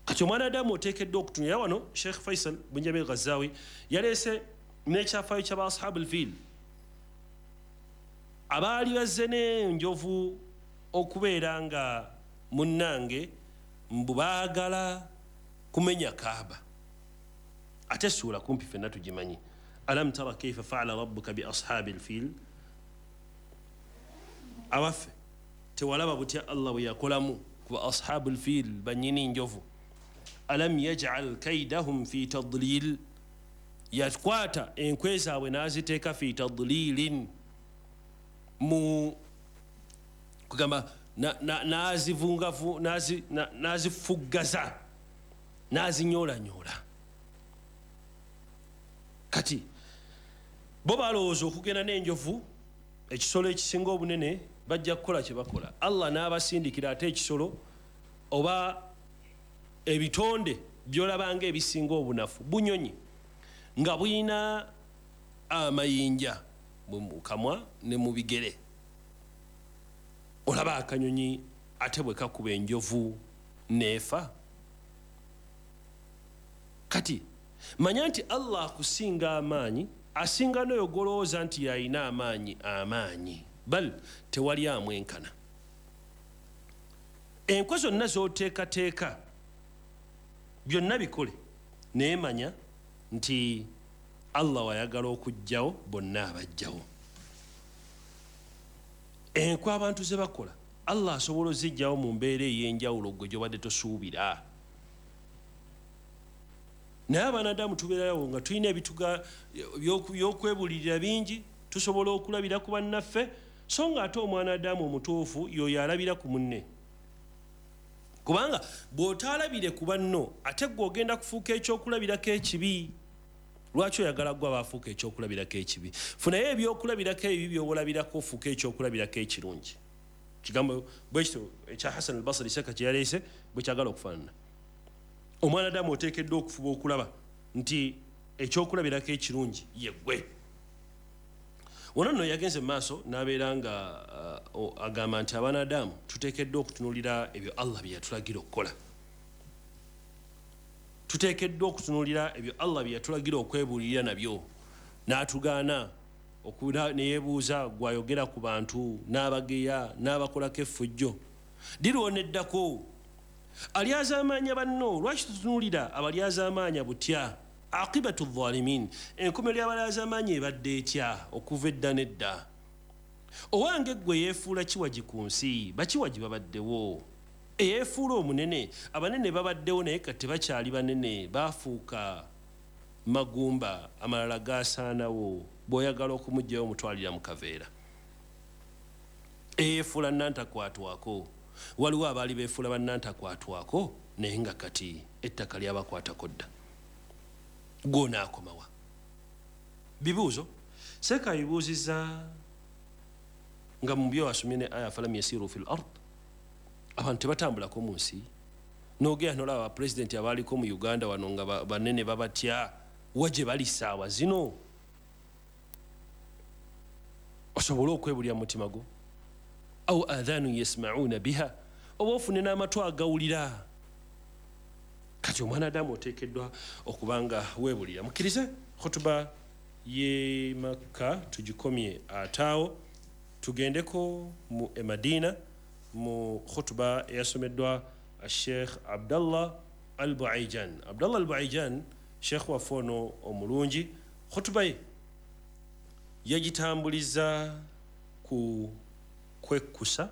Kati omwana Adamu oteekeddwa okutunula wano. Sheikh Faisal bin Jamil Ghazawi yaleese n'ekyafaayo ky'aba ashabu al-fil, abaali bazze n'enjovu okubeera nga munnange mbu baagala kumenya Kaaba. Ate essuula kumpi ffenna tugimanyi, alam tara kaifa faala rabbuka bi ashabi al-fil. Abaffe tewalaba butya Allah bwe yakolamu ku ashabu al-fil, bannyini njovu. Alam yaj'al kaidahum fi tadlil, yakwata enkwe zaabwe n'aziteeka fi tadlilin, mu kugamba n'azivungavu, n'azifuggaza, n'azinyoolanyoola. Kati bo balowooza okugenda n'enjovu, ekisolo ekisinga obunene, bajja kukola kye bakola. Allah n'abasindikira ate ekisolo oba ebitonde by'olabanga ebisinga obunafu, bunyonyi nga buyina amayinja mu kamwa ne mu bigere. Olaba akanyonyi ate bwe kakuba enjovu n'efa. Kati manya nti Allah akusinga amaanyi, asinga n'oyo gw'olowooza nti yalina amaanyi amaanyi, bal tewali amwenkana. Enkwe zonna z'oteekateeka byonna bikole, naye manya nti Allah wayagala okuggyawo bonna abajjawo. Enkwe abantu ze bakola Allah asobola oziggyawo mu mbeera ey'enjawulo gwe gy'obadde tosuubira. Naye abanadamu tubeerawo nga tulina ebituga by'okwebulirira bingi, tusobola okulabira ku bannaffe, so nga ate omwana Adamu omutuufu y'oyo alabira ku munne. Kubanga bw'otaalabire ku banno, ate ggwe ogenda kufuuka ekyokulabirako ekibi. Lwaki oyagala ggwe abaafuuka ekyokulabirako ekibi? Funayo ebyokulabirako ebibi by'olabirako ofuuke ekyokulabirako ekirungi. Kigambo bwe kityo ekya Hassan al-Basri Seka kye yaleese bwe kyagala okufaanana. Omwana Adamu oteekeddwa okufuba okulaba nti ekyokulabirako ekirungi ye ggwe. Wano nno yagenze mu maaso n'abeera nga uh, agamba nti abaana Adamu tuteekeddwa okutunuulira ebyo Allah bye yatulagira okukola. Tuteekeddwa okutunuulira ebyo Allah bye yatulagira okwebuulirira nabyo. N'atugaana ne yeebuuza gw'ayogera ku bantu, n'abageya, n'abakolako effujjo. Dirwoneddako alyazaamaanya banno. Lwaki tutunuulira abalyazaamaanya butya? Aqibatu dhalimin, enkomerero y'abalyazaamaanya ebadde etya okuva edda n'edda? Owange ggwe yeefuula kiwagi ku nsi, bakiwagi babaddewo. Eyeefuula omunene, abanene babaddewo naye kati tebakyali banene, baafuuka magumba, amalala gaasaanawo. Bw'oyagala okumuggyayo omutwalira mu kaveera. Eyeefuula nantakwatwako, waliwo abaali beefuula bannantakwatwako naye nga kati ettaka lyabakwatako dda. Gw'onaakomawa? Bibuuzo seeka bibuuzizza nga mu byo wasomye ne aya falam yasiru fil ard, abantu tebatambulako mu nsi. N'ogenda n'olaba bapulezidenti abaaliko mu Uganda wano nga banene babatya, wa gye bali ssaawa zino? Osobole okwebulira mu mutima gwo. Au adhanu yasma'una biha, oba ofune n'amatu agawulira. Kati omwana Adamu oteekeddwa okuba nga weebulira. Mukkirize khutuba y'e Makka tugikomye ataawo, tugendeko mu e Madina mu khutuba eyasomeddwa Sheikh Abdallah Al-Buaijan. Abdallah Al-Buaijan Sheikh waffe ono omulungi, khutuba ye yagitambuliza ku kwekkusa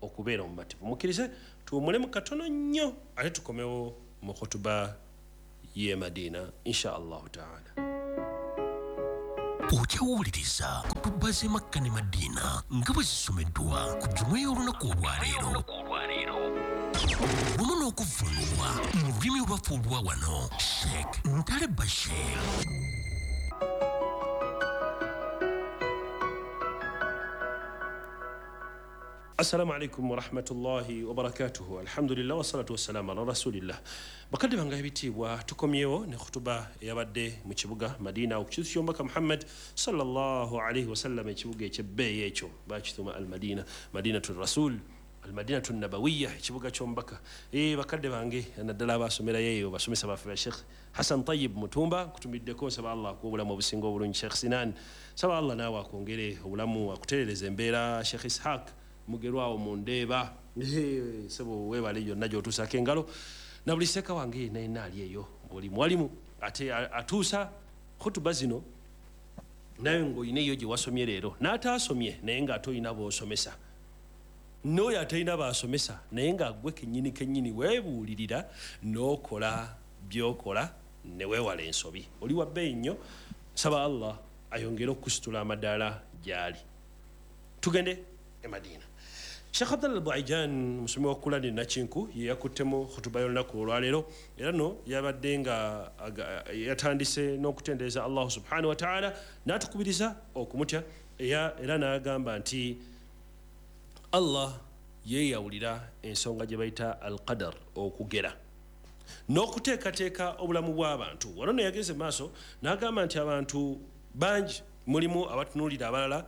okubeera omumativu. Mukkirize tuwummulemu katono nnyo ate tukomewo mu khutuba y'e Madina insha Allahu taala. Okyawuliriza kutuba z'e Makka ne Madina nga bwe zisomeddwa ku jjuma y'olunaku olwaleero wamu n'okuvvuunulwa mu lulimi olwaffe olwa wano Sheikh Ntale Bashir. Assalamu alaikum warahmatullahi wabarakatuhu. Alhamdulillah wassalatu wassalamu ala rasulillah. Bakadde bange ebitiibwa, tukomyewo ne khutuba eyabadde mu kibuga Madina okukizu ky'omubaka Muhammad sallallahu alaihi wasallam, ekibuga ekyebbeeyi ekyo bakituuma Al-Madina, Madinatu Rasul, Al-Madinatu Nabawiyya, ekibuga ky'omubaka. Eh, bakadde bange naddala abasomerayo eyo basomesa baffe ba Sheikh Hassan Tayyib Mutumba, kutumiddeko, nsaba Allah akuwe obulamu obusinga obulungi. Sheikh Sinan, nsaba Allah naawe akwongere obulamu, akutereereze embeera. Sheikh Ishaq mugerwawo mu ndeeba, sebo weebale yonna gy'otuusaako engalo, na buli seeka wange yenna yenna ali eyo buli mwalimu ate atuusa khutuba zino naye ng'olina eyo gye wasomye leero, n'ataasomye naye ng'ate olina b'osomesa, n'oyo atalina b'asomesa naye nga ggwe kennyini kennyini weebuulirira n'okola by'okola ne weewala ensobi. Oli wa bbeeyi nnyo, nsaba Allah ayongere okusitula amadaala gy'ali. Tugende e Madina. Sheikh Abdallah Buaijan musomi wa Kulani Nakinku ye yakuttemu khutuba y'olunaku olwaleero, era no yabadde nga yatandise n'okutendereza Allah subhanahu wa ta'ala n'atukubiriza okumutya, era n'agamba nti Allah yeeyawulira ensonga gye bayita al-qadar, okugera n'okuteekateeka obulamu bw'abantu. Wano ne yageze maaso n'agamba nti abantu bangi mulimu abatunuulira abalala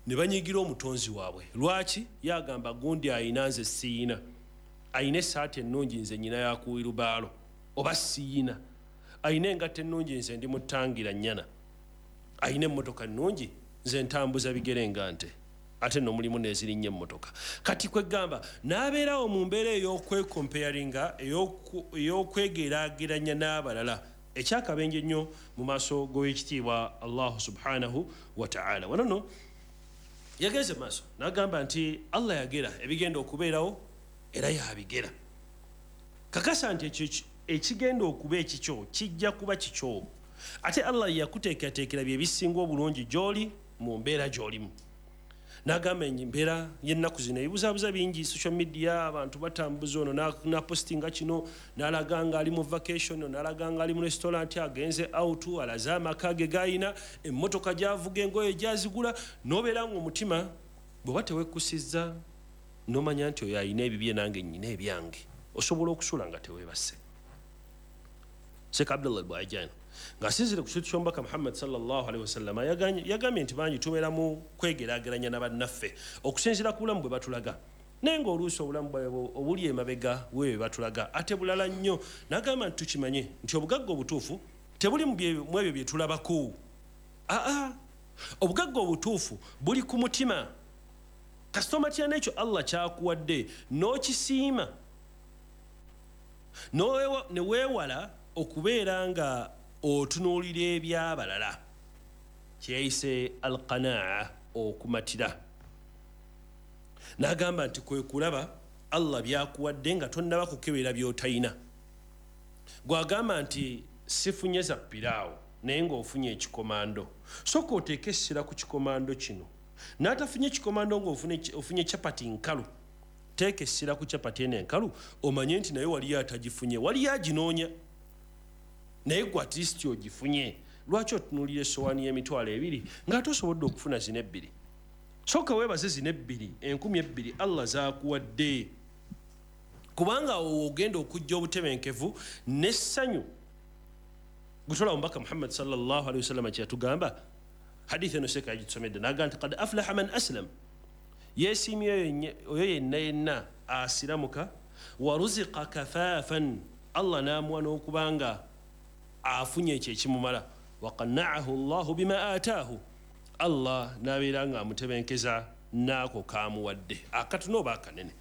ne banyigira omutonzi waabwe. Lwaki? Yagamba gundi ayina nze siyina, ayina essaati ennungi nze nnyina yakuwirubaalo oba siyina, ayina engatto ennungi nze ndi mutangira nnyana, ayina emmotoka ennungi nze ntambuza bigere nga nte, ate nno mulimu n'ezirinnya emmotoka. Kati kwegamba n'abeerawo mu mbeera ey'okwekomparinga, ey'okwegeraageranya n'abalala, ekyakabenje ennyo mu maaso g'owekitiibwa Allahu subhanahu wa ta'ala. Wano nno yageze maaso n'agamba nti Allah yagera ebigenda okubeerawo era yabigera. Kakasa nti ekyo ekigenda okuba ekikyo kijja kuba kikyo, ate Allah yakuteekateekera bye bisinga obulungi gy'oli mu mbeera gy'olimu. N'agamba embeera y'ennaku zino ebibuzaabuza bingi, social media abantu batambuza ono n'apostinga kino, n'alaga nga ali mu vacation, n'alaga nga ali mu restaurant, agenze out, alaze amaka ge gayina, emmotoka gy'avuga, engoye gy'azigula, n'obeera ng'omutima bw'oba teweekkusizza n'omanya nti oyo ayina ebibye nange nnyina ebyange, osobola okusula nga teweebase. Sheikh Abdallah Buaijan ng'asinziira ku kintu ky'omubaka Muhammad sallallahu alaihi wasallam yagambye nti bangi tubeera mu kwegeraageranya na bannaffe okusinziira ku bulamu bwe batulaga, naye ng'oluusi obulamu bwabwe obuli emabega weebwe batulaga ate bulala nnyo. N'agamba nti tukimanye nti obugagga obutuufu tebuli mu ebyo bye tulabako, aa, obugagga obutuufu buli ku mutima. Kasita omatira n'ekyo Allah ky'akuwadde n'okisiima ne weewala okubeera nga otunuulira ebyabalala, kyeyayise alqanaa, okumatira. N'agamba nti kwe kulaba Allah byakuwadde nga tonnaba kukebera by'otayina. Gw'agamba nti sifunye za piraawo naye ng'ofunye ekikomando, sooka oteeke essira ku kikomando kino. N'atafunye ekikomando ng'ofunye chapati nkalu, teeka essira ku chapati eno enkalu, omanye nti naye waliyo atagifunye, waliyo aginoonya, naye gwe at least ogifunye. Lwaki otunuulira essowaani y'emitwalo ebiri ng'ate osobodde okufuna zino ebbiri? Sooka weebaze zino ebbiri, enkumi ebbiri Allah z'akuwadde, kubanga awo ogenda okujja obutebenkevu n'essanyu. Gutola omubaka Muhammad sallallahu alaihi wasallam kye yatugamba, hadithi eno seeka yagitusomedde, n'agamba nti qad aflaha man aslam, yeesiimye oyo yenna yenna asiramuka, wa ruziqa kafaafan, Allah n'amuwa n'okubanga afunye ekyo ekimumala, wa qanna'ahu Allahu bima ataahu, Allah n'abeera nga amutebenkeza n'ako k'amuwadde, akatono oba akanene.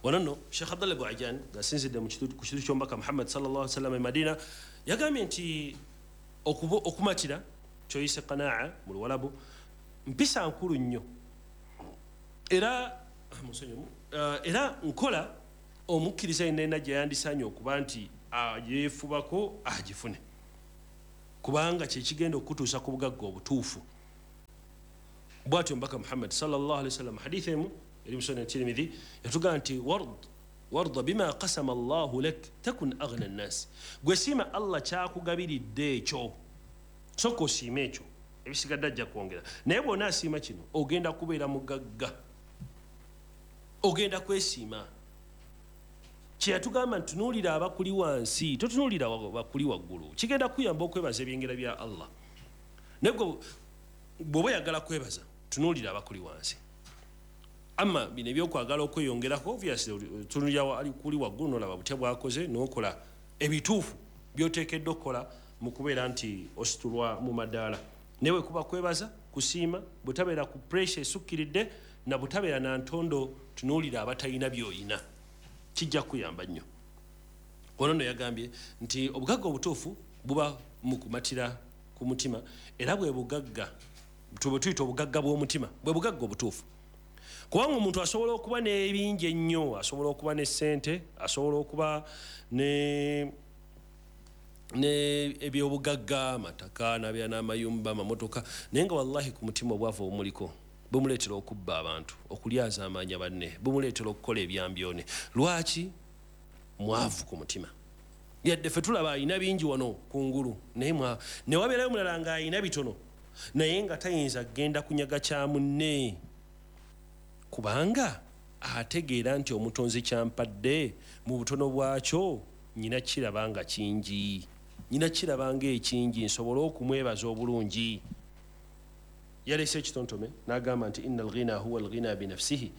Wano nno Sheikh Abdallah Buaijan ng'asinzidde ku kintu ky'omubaka Muhammad sallallahu alaihi wasallam e Madina yagambye nti okumatira kyoyise qanaa mu Luwalabu mpisa nkulu nnyo, era Era nkola omukkiriza yenna gye yandisaanye okuba nti yeefubako agifune, kubanga kyekigenda okutuusa ku bugagga obutuufu. Bw'atyo Mbaka Muhammad sallallahu alaihi wasallam hadithi emu eri mu Sunan Tirmidhi yatugamba nti ward warda bima qasama Allahu lak takun aghna an-nas, gwe siima Allah kyakugabiridde ekyo, sooka osiime ekyo, ebisigadde ajja kwongera. Naye bw'onaasiima kino ogenda kubeera mugagga, ogenda kwesiima. Kye yatugamba nti tunuulira abakuli wansi, totunuulira bakuli waggulu, kigenda kuyamba okwebaza ebyengera bya Allah. Naye bw'oba oyagala kwebaza, tunuulira abakuli wansi. Amma bino ebyokwagala okweyongerako, obviously tunuulira ali kuli waggulu n'olaba butya bw'akoze, n'okola ebituufu by'oteekeddwa okukola mu kubeera nti ositulwa mu madaala. Naye bwe kuba kwebaza, kusiima, bwetabeera ku pressure esukkiridde na butabeera na ntondo, tunuulira abatalina by'oyina, kijja kuyamba nnyo. Ono nno yagambye nti obugagga obutuufu buba mu kumatira ku mutima, era bwe bugagga bwe tuyita obugagga bw'omutima, bwe bugagga obutuufu. Kubanga omuntu asobola okuba n'ebingi ennyo, asobola okuba ne ssente, asobola okuba ne ne ebyobugagga, amataka, n'abeera n'amayumba, amamotoka, naye nga wallahi ku mutima obwavu obumuliko bumuleetera okubba abantu, okulyaza amaanya banne, bumuleetera okukola ebyambyone. Lwaki? Mwavu ku mutima. Yadde ffe tulaba alina bingi wano kungulu, naye ne wabeerayo omulala ng'alina bitono, naye nga tayinza kugenda kunyaga kya munne, kubanga ategeera nti omutonzi kyampadde mu butono bwakyo nnyina kiraba nga kingi, nnyina kiraba ng'ekingi, nsobole okumwebaza obulungi. Yalese ekitontome n'agamba nti inna alghina huwa alghina binafsihi,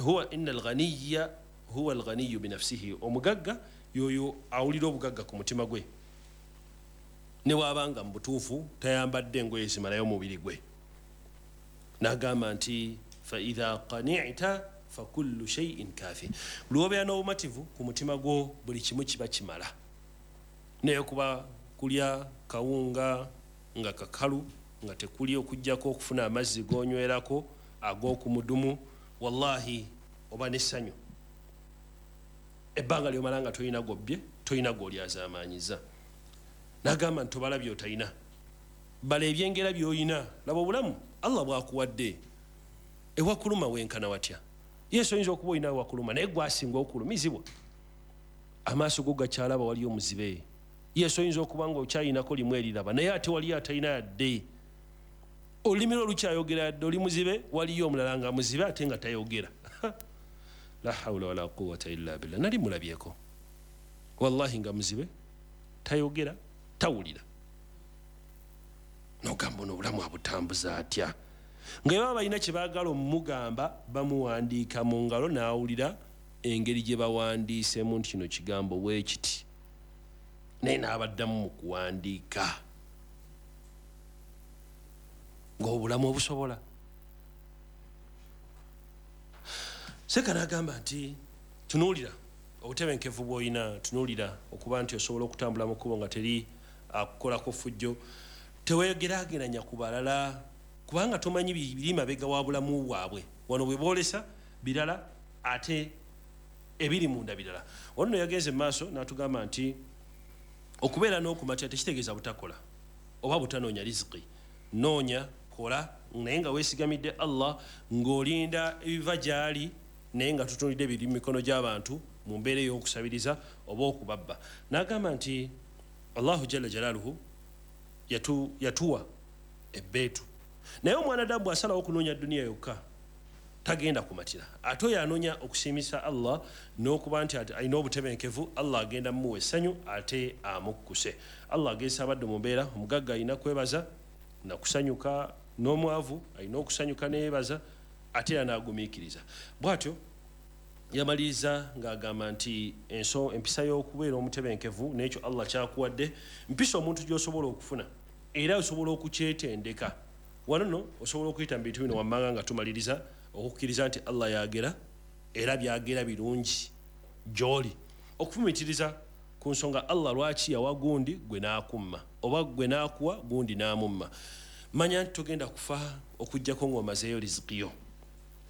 huwa inna alghaniya huwa alghaniyu binafsihi, omugagga yoyo awulira obugagga ku mutima gwe, ne bw'abanga mu butuufu tayambadde engoye zimalayo omubiri gwe. N'agamba nti fa idha qani'ta fa kullu shay'in kafi, lw'obeera n'obumativu ku mutima gwo buli kimu kiba kimala. Naye kuba kulya kawunga nga kakalu nga tekuli okuggyako okufuna amazzi g'onywerako ag'okumudumu, wallahi oba n'essanyu ebbanga ly'omala nga tolina gobbye, tolina g'olyazaamaanyiza. N'agamba nti tobala by'otalina, bala ebyengera by'olina. Laba obulamu Allah bw'akuwadde, ewakuluma wenkana watya? Yesu oyinza okuba olina ewakuluma, naye gwe asinga okulumizibwa. Amaaso go gakyalaba waliyo omuzibe. Yesu oyinza okuba nga okyayinako limu eriraba, naye ate waliyo atalina yadde. Olulimi lwo lukyayogera yadde oli muzibe, waliyo omulala nga muzibe ate nga tayogera. La hawula wala quwwata illa billah. Nali mulabyeko wallahi nga muzibe, tayogera, tawulira. N'ogamba ono obulamu abutambuza atya? Nga baba balina kye baagala omugamba, bamuwandiika mu ngalo n'awulira engeri gye bawandiiseemu nti kino kigambo bwe kiti, naye n'abaddamu mu kuwandiika. Ng'obulamu obusobola. Seka n'agamba nti tunuulira obutebenkevu bw'olina, tunuulira okuba nti osobola okutambula mu kkubo nga teri akukolako ffujjo, teweegeraageranya ku balala, kubanga tomanyi biri mabega wa bulamu bwabwe. Wano bwe boolesa birala, ate ebiri munda birala. Wano nno yagenze mu maaso n'atugamba nti okubeera n'okumatira tekitegeeza butakola oba butanoonya riziki. Noonya, kola, naye nga weesigamidde Allah, ng'olinda ebiva gy'ali, naye nga tutunulidde ebiri mu mikono gy'abantu mu mbeera ey'okusabiriza oba okubabba. N'agamba nti Allahu jalla jalaaluhu yatu, yatuwa ebbeetu, naye omwana ddamu bw'asalawo okunoonya duniya yokka tagenda kumatira. Ate oyo anoonya okusiimisa Allah n'okuba nti alina obutebenkevu, Allah agenda mumuwa essanyu ate amukkuse. Allah agezesa abadde mu mbeera, omugagga alina kwebaza na kusanyuka, n'omwavu alina okusanyuka neyeebaza, ate era n'agumiikiriza. Bw'atyo yamaliriza ng'agamba nti enso empisa y'okubeera omutebenkevu n'ekyo Allah kyakuwadde mpisa omuntu gy'osobola okufuna, era osobola okukyetendeka. Wano nno osobola okuyita mu bintu bino wammanga nga tumaliriza okukkiriza nti Allah yagera era byagera birungi gy'oli, okufumiitiriza ku nsonga Allah lwaki yawa gundi gwe n'akumma, oba gwe n'akuwa gundi n'amumma. Manya nti togenda kufa okuggyako ng'omazeeyo riziki yo.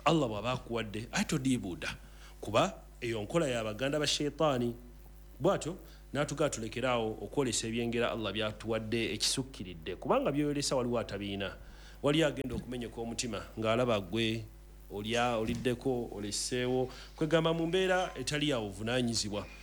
Allah bw'aba akuwadde, ate todiibuuda, kuba eyo nkola y'abaganda ba sheitaani. Bwatyo n'atugaa tulekeraawo okwolesa ebyengera Allah byatuwadde ekisukkiridde, kubanga byoyolesa waliwo atabiina, wali agenda okumenyeka omutima ng'alaba gwe olya, oliddeko, oleseewo, kwegamba mu mbeera etali yawo buvunaanyizibwa.